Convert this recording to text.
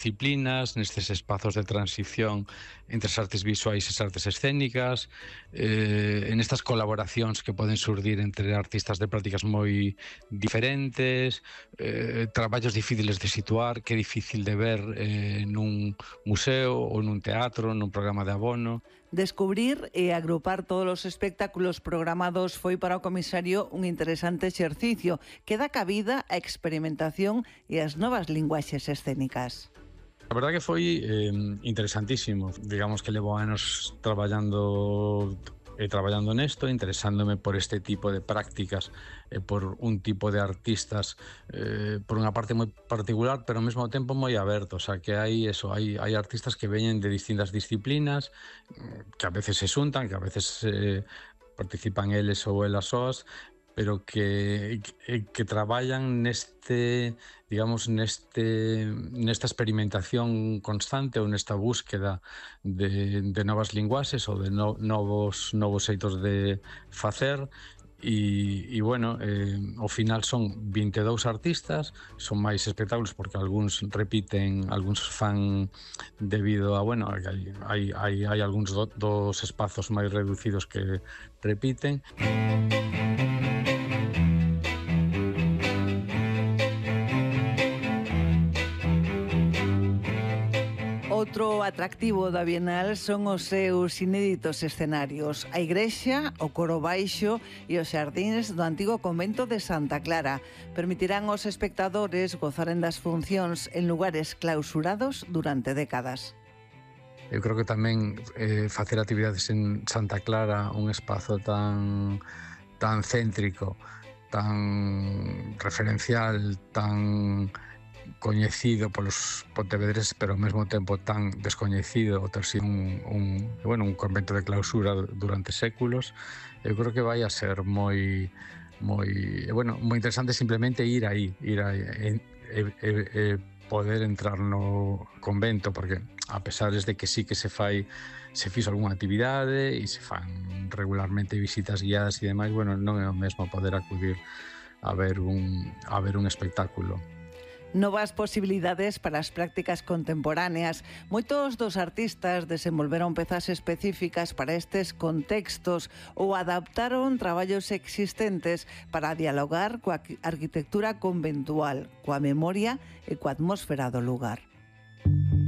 disciplinas, nestes espazos de transición entre as artes visuais e as artes escénicas, en estas colaboracións que poden surdir entre artistas de prácticas moi diferentes, traballos difíciles de situar, que é difícil de ver nun museo ou nun teatro, nun programa de abono. Descubrir e agrupar todos os espectáculos programados foi para o comisario un interesante exercicio que dá cabida á experimentación e ás novas linguaxes escénicas. A verdade que foi interesantísimo. Digamos que levo anos traballando nesto, interesándome por este tipo de prácticas, por un tipo de artistas, por unha parte moi particular, pero ao mesmo tempo moi aberto. O sea, que hai artistas que veñen de distintas disciplinas, que a veces se xuntan, que a veces participan eles ou elas soas, pero que traballan nesta experimentación constante ou nesta búsqueda de novas linguaxes ou de novos xeitos de facer. E bueno, ao final son 22 artistas, son máis espectáculos porque algúns repiten, algúns fan debido a, bueno, hai algúns dos espazos máis reducidos que repiten. Outro atractivo da Bienal son os seus inéditos escenarios. A igrexa, o coro baixo e os xardíns do antigo convento de Santa Clara permitirán aos espectadores gozaren das funcións en lugares clausurados durante décadas. Eu creo que tamén facer actividades en Santa Clara, un espazo tan céntrico, tan referencial, tan coñecido polos pontevedreses, pero ao mesmo tempo tan descoñecido, o ter sido un convento de clausura durante séculos. Eu creo que vai a ser moi interesante simplemente ir aí poder entrar no convento, porque a pesar de que sí que se fixo algunha actividade e se fan regularmente visitas guiadas e demais, bueno, non é o mesmo poder acudir a ver un espectáculo. Novas posibilidades para as prácticas contemporáneas. Moitos dos artistas desenvolveron pezas específicas para estes contextos ou adaptaron traballos existentes para dialogar coa arquitectura conventual, coa memoria e coa atmósfera do lugar.